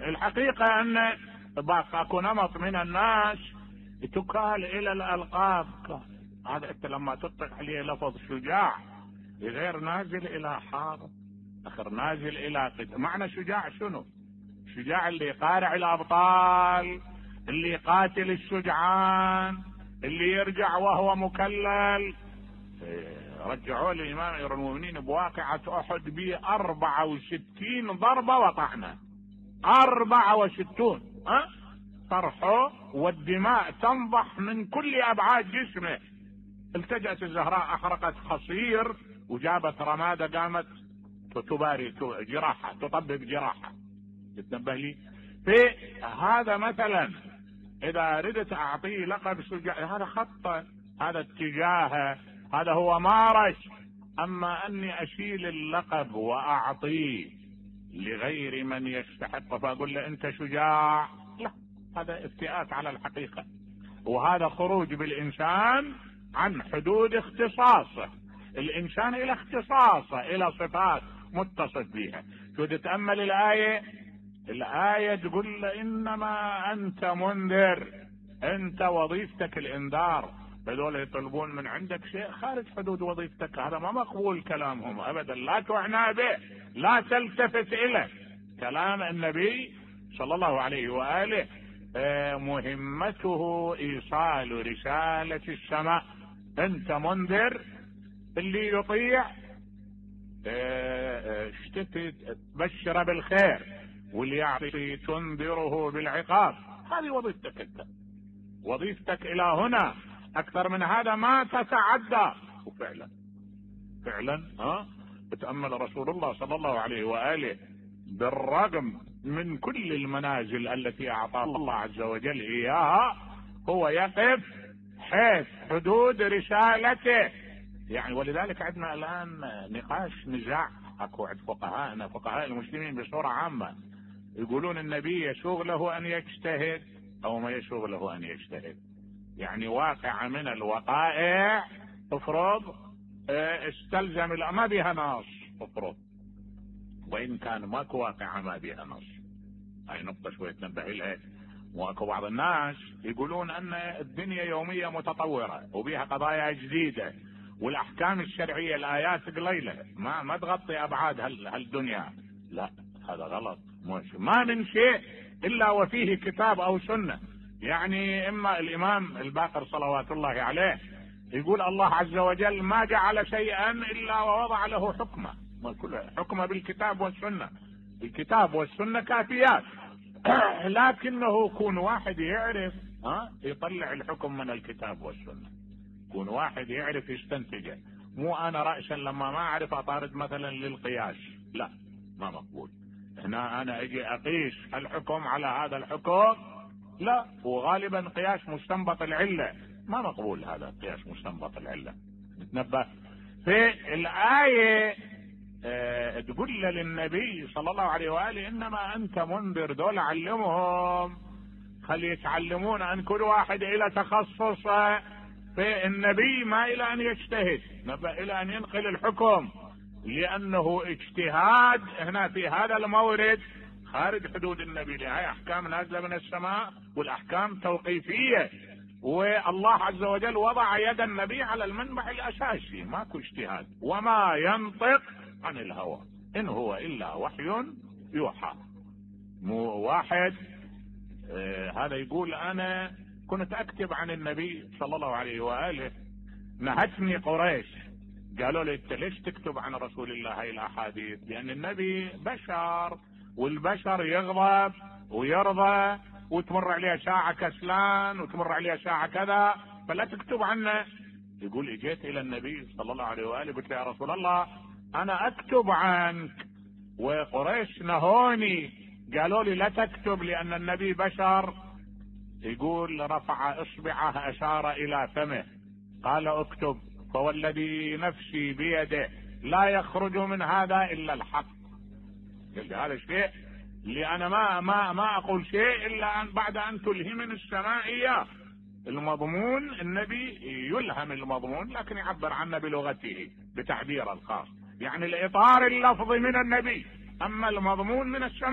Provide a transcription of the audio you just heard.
الحقيقة ان اكو نمط من الناس تكال الى الالقاب. هذا انت لما تطلق عليه لفظ شجاع غير نازل الى حارب، اخر نازل الى قتال. معنى شجاع شنو؟ شجاع اللي يقارع الابطال، اللي يقاتل الشجعان، اللي يرجع وهو مكلل. رجعوا الامام امير المؤمنين بواقعة احد ب 64 ضربة وطعنة، 64 طرحه والدماء تنضح من كل ابعاد جسمه. التجأت الزهراء احرقت خصير وجابت رمادة قامت تباري جراحة، تطبق جراحة. تتنبه لي في هذا مثلا. اذا ردت اعطيه لقب شجاع هذا خطه، هذا اتجاهه، هذا هو مارش. اما اني اشيل اللقب واعطيه لغير من يستحق فاقول له انت شجاع، لا، هذا افتئات على الحقيقة، وهذا خروج بالانسان عن حدود اختصاصه. الانسان الى اختصاصه، الى صفات متصف بها. شو تتأمل الآية تقول له انما انت منذر، انت وظيفتك الانذار، هذول يطلبون من عندك شيء خارج حدود وظيفتك، هذا ما مقبول كلامهم ابدا، لا تعنى به، لا تلتفت اليه. كلام النبي صلى الله عليه وآله مهمته ايصال رسالة السماء. انت منذر، اللي يطيع تبشر بالخير، واللي يعطي تنذره بالعقاب. هذه وظيفتك انت، وظيفتك الى هنا، اكثر من هذا ما تتعدى. وفعلا بتأمل رسول الله صلى الله عليه وآله بالرغم من كل المنازل التي اعطى الله عز وجل اياها، هو يقف حيث حدود رسالته. يعني ولذلك عندنا الان نقاش، نزاع اكو عند فقهاء المسلمين بصورة عامة، يقولون النبي يسوغ له ان يجتهد او ما يسوغ له ان يجتهد. يعني واقع من الوقائع افرض استلزم ما بها نص، افرض وان كان ماكو واقعة ما بها نص. هاي نقطة شوية تنبه لها. واكو بعض الناس يقولون ان الدنيا يومية متطورة وبها قضايا جديدة، والاحكام الشرعية الايات قليلة ما تغطي ابعاد هالدنيا. لا، هذا غلط. ما من شيء الا وفيه كتاب او سنة. يعني اما الامام الباقر صلوات الله عليه يقول الله عز وجل ما جعل شيئا الا ووضع له حكمه، حكمه بالكتاب والسنة. الكتاب والسنة كافيات. لكنه كون واحد يعرف يطلع الحكم من الكتاب والسنة، كون واحد يعرف يستنتجه. مو انا رأسا لما ما اعرف اطارد مثلا للقياس، لا، ما مقبول. هنا انا اجي اقيس الحكم على هذا الحكم، لا، وغالبا قياس مستنبط العلة، ما مقبول هذا قياس مستنبط العلة. نتنبه في الآية تقول للنبي صلى الله عليه وآله انما انت منذر. دول علمهم، خلي يتعلمون ان كل واحد الى تخصصه. في النبي ما الى ان يجتهد، نبأ الى ان ينقل الحكم، لانه اجتهاد هنا في هذا المورد خارج حدود النبي. هاي احكام نازله من السماء، والاحكام توقيفيه، والله عز وجل وضع يد النبي على المنبع الاساسي، ماكو اجتهاد. وما ينطق عن الهوى ان هو الا وحي يوحى. مو واحد هذا يقول انا كنت اكتب عن النبي صلى الله عليه واله، نهتني قريش قالوا لي انت ليش تكتب عن رسول الله هاي الاحاديث؟ لان النبي بشر، والبشر يغضب ويرضى، وتمر عليه ساعة كسلان وتمر عليه ساعة كذا، فلا تكتب عنه. يقول اجيت الى النبي صلى الله عليه وآله قلت له يا رسول الله انا اكتب عنك، وقريش نهوني قالوا لي لا تكتب لان النبي بشر. يقول رفع اصبعه اشار الى فمه قال اكتب، فوالذي نفسي بيده لا يخرج من هذا الا الحق. هذا الشيء اللي انا ما اقول شيء الا أن بعد ان تلهمني السماء اياه. المضمون النبي يلهم المضمون لكن يعبر عنه بلغته بتعبير الخاص، يعني الاطار اللفظي من النبي، اما المضمون من السماء.